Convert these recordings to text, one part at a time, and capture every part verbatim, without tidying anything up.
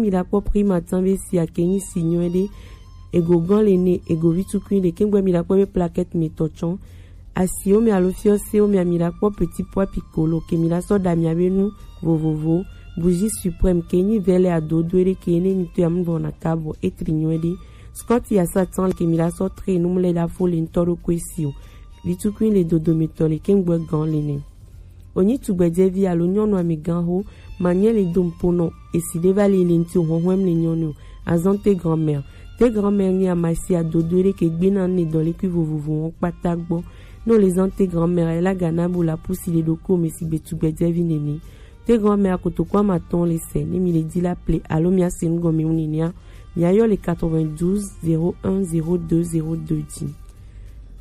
Mi la kpɔ prix matin be si ake nyi si nyɔɛ ɖe. Ego gan le ne, ego vi tukui le, kengbe mi la kpɔ be plaquette mi tɔ tsɔn. Asi wo mi alo fiɔ se wo mi ami la kpɔ petit pois piccolo ke mi la sɔ da mi abe nu vovovo. Bougie suprême ke nyi vɛlɛ adodo ɖe ke ne mi to ya mu vɔ na kabɔ etri nyɔɛ ɖe. Scott ya sa tan ke mi la sɔ tre nu mu le da fo le ntɔ ɖo ko esi o. Vi tukui le dodo mi tɔ le kengbe gan le ne. Onyi tugbɛjɛvi alo nyɔnu amɛganxo, manyɛ le do ŋpo nɔ esi ɖe va li le ŋti o hɔnhɔn le nyɔnu o. Azan te grand-mère. Te grand-mère nyi amasi adodo ɖe ke gbe na ne dɔlekui vovovo wɔn kpata gbɔ. Ne o le zan te grand-mère ela gana bo la pusi le ɖoko me si gbe tugbɛjɛvi nene. Te grand-mère akotoko amatɔn le sɛ ne mi le di la ple alo mi ase nu gɔme wu nenea. Mi ayɔ le quatre-vingt-douze zéro un zéro deux zéro deux dzi.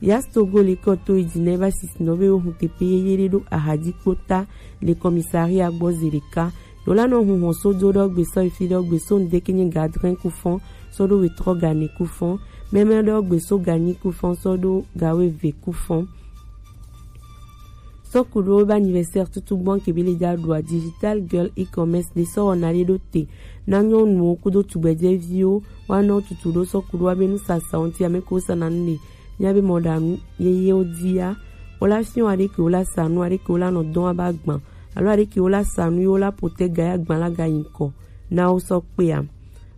Yas Togo le kɔ to yi dzi nɛ va sisi nɔ be wo hun tepe yeye ɖe ɖo ahadzi kpota le commissariat gbɔ zi ɖeka. Ɖo la nɔ hun hɔn so do ɖɔ gbe sɔ yi fi ɖɔ gbe so ŋdeke nye gadrin kufɔn sɔ ɖo wetrɔ gane kufɔn. Mɛmɛ ɖɔ gbe so ganyi kufɔn sɔ ɖo gawe ve kufɔn. Sɔku ɖo be anniversaire tutu gbɔn ke be le ja ɖoa digital girl e-commerce de sɔ wɔna ɖe ɖo te. Na nyɔnuwo kudo tugbɛjɛviwo wa nɔ tutu ɖo sɔku ɖo be nusasa ŋti ame ko sa na nu le. Nya be mɔɖaŋu yeyewo dia, wo la fiɔ aɖe ke wo la sa nu, aɖe ke wo la nɔ dɔn aba gbã, alo aɖe ke wo la sa nu ye wo la pote ga ya gbã la ga yi ŋkɔ na wo sɔ kpea.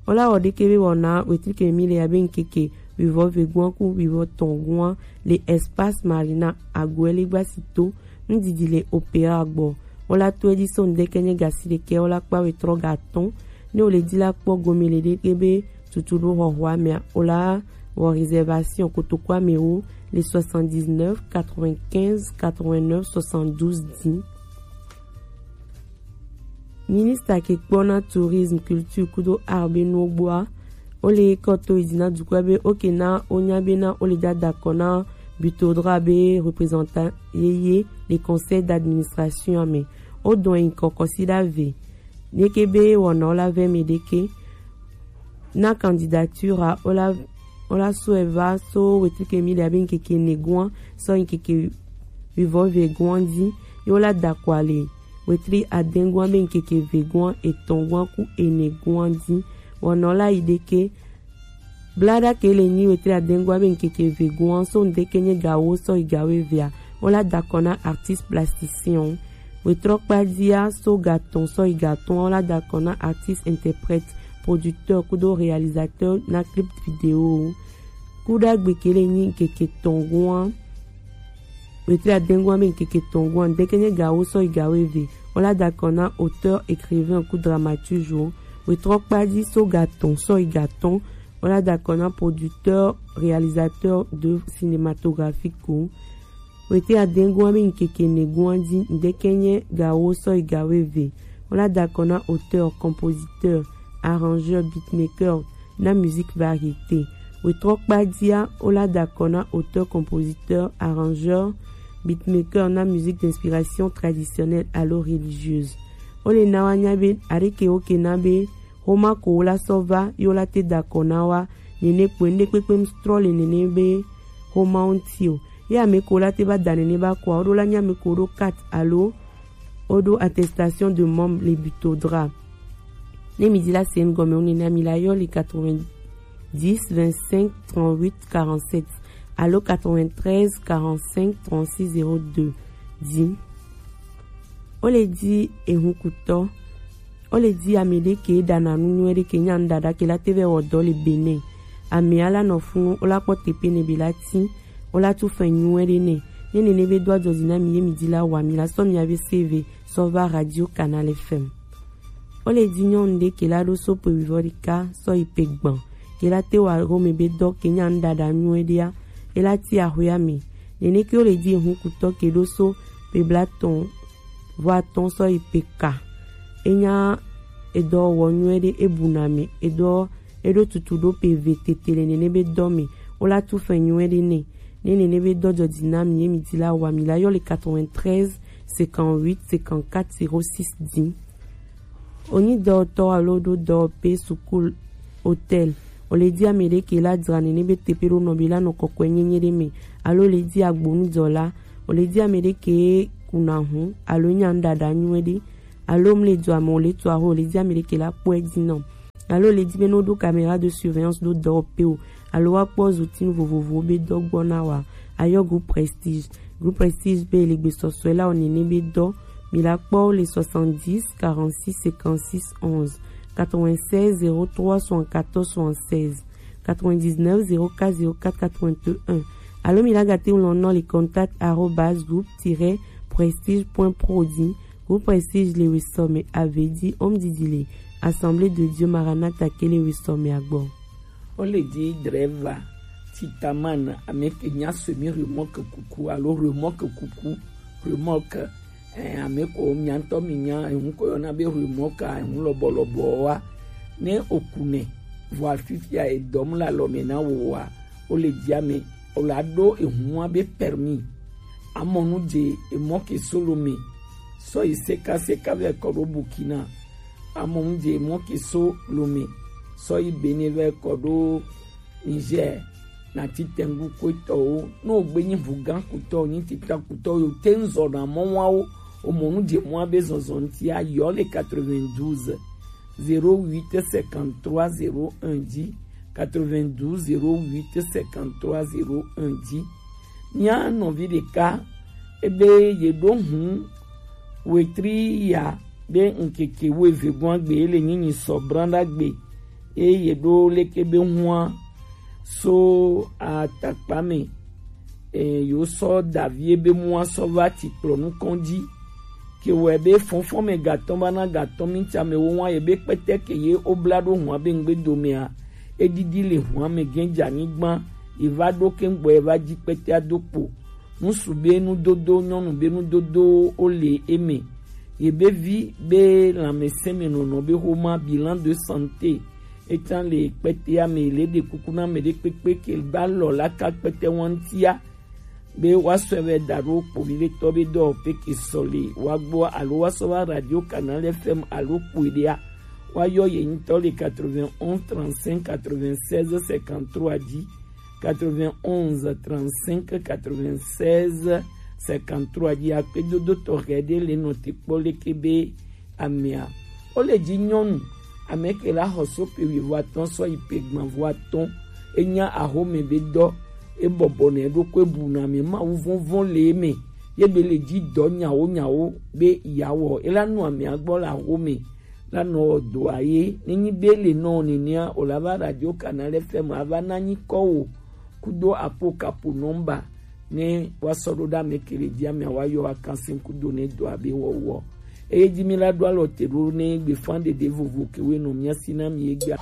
Wo la wɔ ɖeke be wɔna wetri ke mi le abe ŋkeke wivɔ vegoa ku wivɔ tɔngoa le Espace Marina Aguelli gbasi to ŋdidi le Opéra gbɔ. Wo la to edzi so ŋdeke nye gasi ɖeke wo la kpa wetrɔ ga tɔn. Ne wo le di la kpɔ gome le ɖeke be tutu ɖo xɔxɔa mea, wo la wɔ réservation kotokoa me wo le soixante-dix-neuf quatre-vingt-quinze quatre-vingt-neuf soixante-douze dix. Ministre ke kpɔna tourisme, culture kudo art be nuwo gbɔa, wo le kɔ to yi dzi na dukɔa be oke na wo nya be na wo le dada kɔ na Butodra be représentant yeye le conseil d'administration me. Wo dɔn yi kɔkɔ si ɖa ve. Neke be wɔna wo la vɛ mi ɖeke. Na candidature a wo la wo la sɔe va so wetri ke mi ɖe abe ŋkeke negoa sɔ ŋkeke wivɔ vegoa dzi. Ye wo la da kɔ ale wetri adegoa be ŋkeke vegoa etɔngoa ku enegoa dzi. Wɔna wo la yi ɖeke. Blada ke le nyi wetri adegoa be ŋkeke vegoa so ŋdeke nye gawo sɔ yi gawo evea. Wo la da kɔ na artiste plasticien o. Wetrɔ kpadzia so gatɔn sɔ yi gatɔn wo la da kɔ na artiste interprète, producteur kudo réalisateur na clip vidéo. Kuɖagbe ke le nyi ŋkeke tɔngoa. Wetri adegoa be ŋkeke tɔngoa ŋdeke nye gawo sɔ yi gawo eve. Wo la da kɔ na auteur, écrivain ku dramaturge o. Wetrɔ kpadzi so gatɔn sɔ yi gatɔn wo la da kɔ na producteur, réalisateur de cinématographique o. Wetri adegoa be ŋkeke negoa dzi ŋdeke nye gawo sɔ yi gawo eve. Wo la da kɔ na auteur, compositeur, arrangeur, beatmaker na musique variété. Wetrɔ kpadzia wo la da kɔ na auteur, compositeur, arrangeur, beatmaker na musique d'inspiration traditionnelle alo religieuse. Wo le na wa nya be aɖeke wo ke na be xoma ko wo la sɔ va ye wo la te da kɔ na wa. Nene kpoe ŋɖe kpekpe mu trɔ le nene be xoma wo ŋti o. Ye ame ko wo la te va da nene ba kɔa wo ɖo la nye ame ko wo ɖo carte alo wo ɖo attestation de membre le Butodra. Ne mi di la se ŋgɔme wo nene mi la yɔ le quatre-vingt-dix vingt-cinq trente-huit quarante-sept alo quatre-vingt-treize quarante-cinq trente-six zéro deux dzi. Wo le di ehunkutɔ. Wo le di ame ɖe ke ɖana nu nyuie ɖe ke nya nu ɖaɖa ke la te vɛ wɔ dɔ le Benin. Amea la nɔ funu wo la kpɔ tepe ne be la ti wo la tu fɛn nyuie ɖe nɛ. Ne nene be do adzɔdzi na mi ye mi di la wa mi la sɔ mi ave seve sɔ va Radio Canal F M. Wo le di nyɔnu ɖe ke la ɖo so pe wivɔ ɖeka sɔ yi pe gbɔn ke la te wa Rome be dɔ ke nya nu ɖaɖa nyuie ɖea e la ti axɔea me. Nene ke wo le di ehunkutɔ ke ɖo so pe blatɔn vɔ atɔn sɔ yi pe ka. Enya edɔ wɔ nyuie ɖe ebuna me edɔ eɖo tutu ɖo pe ve tete le nene be dɔ me wo la tu fɛn nyuie ɖe nɛ. Ne nene be dɔ dzɔdzi na mi ye mi di la wa mi la yɔ le quatre-vingt-treize cinquante-huit cinquante-quatre zéro six dix. Onyi dɔwɔtɔ alo ɖo dɔwɔƒe sukulu hôtel. O le di ame ɖe ke la dzra nene be teƒe ɖo nɔ be la nɔ kɔkɔe nyenye ɖe me alo le di agbonudɔla. O le di ame ɖe ke kuna hu alo nya nu ɖaɖa nyuie ɖe alo mle dua me o le tu aho o le di ame ɖe ke la kpɔe dzi nɔ. Alo le di be no ɖo caméra de surveillance ɖo dɔwɔƒe o, alo wa kpɔ zutinu vovovowo be dɔ gbɔ na wa, ayɔ groupe Prestige. Groupe Prestige be le gbesɔsɔe la o nene be dɔ, mi la kpɔ le soixante-dix quarante-six cinquante-six onze, quatre-vingt-seize zéro trois soixante-quatorze soixante-seize, quatre-vingt-dix-neuf zéro quatre zéro quatre quatre-vingt-un. Alo mi la gate ŋlɔ nɔ le contact arobase groupe tiret prestige point pro di. Groupe Prestige le wesɔ me avedi om didi le Assemblée de Dieu Maranatha ke le wesɔ me agbɔ. Wo le di driver titaman ame ke nya semi remorque kuku alo remorque kuku, remorque, eh, ame ko mia ŋutɔ mi nya eŋu ko yɔna be remorque a, eŋu lɔbɔlɔbɔ wa. Ne oku nɛ vɔ afifia edɔm le alɔ me na wo wa, wo le di ame o la ɖo eŋua be permis. Amɔnu dze emɔ ke so Lome sɔ yi sekaseka vɛ kɔ ɖo Burkina. Amɔnu dze emɔ ke so Lome sɔ yi Benin vɛ kɔ ɖo Niger. Na ti tɛngu kotɔwo, ne wogbe nyi ʋugã kutɔ, nyi tita kutɔ yo te ŋzɔ na mɔwawo, omɔnu dze mɔa be zɔzɔ ŋutia, yɔ le quatre-vingt-douze zéro huit cinquante-trois zéro un dzi, quatre-vingt-douze zéro huit cinquante-trois zéro un dzi. Mía nɔvi ɖeka ebe yeɖo hu wetri ya be ŋkeke wuieve gɔ̃a gbe ye le nyinyi sɔ branɖa gbe, eye yeɖo leke be hua so atakpa me, e, yo sɔ davi ebe mua sɔ va ti kplɔ nukɔn dzi. Ke wɔe be fɔnfɔn me gatɔn va na gatɔn mi tsa me wo wa ye be kpɛtɛ ke ye o bla ɖo hua be ŋgbe domea, e ɖiɖi le hua me gɛn dza nyigba, ye va ɖo ke ŋgbɔ ye va dzi kpɛtɛa do kpo. Ŋsu be nudodo, nyɔnu be nudodo wo le eme. Ye be vi be lãmesẽ me nɔnɔ be xoma bilan de santé. Etan le kpɛtɛa me le ɖe kuku na me ɖe kpekpe ke ba lɔ la ka kpɛtɛ wantia. Be wa sɔe vɛ da ɖo kpovi ɖe tɔ be dɔ pe ke sɔ le wa gbɔ alo wa sɔ va Radio Canal F M alo kpoe ɖea. Wa yɔ ye ŋutɔ le quatre-vingt-onze trente-cinq quatre-vingt-seize cinquante-trois dzi. Quatre-vingt-onze trente-cinq quatre-vingt-seize cinquante-trois dzi akpedodo tɔxɛ ɖe le nɔ te kpɔ leke be amea. Wo le dzi nyɔnu ame ke la xɔ so pe wuivo atɔ̃ sɔ yi pe gbãvo atɔ̃. Enya axome be dɔ, e bɔbɔ nɛ ɖokui bu na me mawu vɔnvɔn le eme. Ye be le dzi dɔ nyawo nyawo be yawɔ. E la nu amea gbɔ le axome la nɔ dɔa ye. Nenyi be le nɔ nenea, o la va Radio Canal F M ava na nyi kɔ wo kudo apo kapo nɔmba ne wa sɔ ɖo ɖa me kele dia me wa yɔ wa kansin kudo ne dɔa be wɔwɔ. Eye dzi mi la ɖo alɔ te ɖo ne gbefan ɖeɖe vovo ke we nɔ mia si na mi egbe.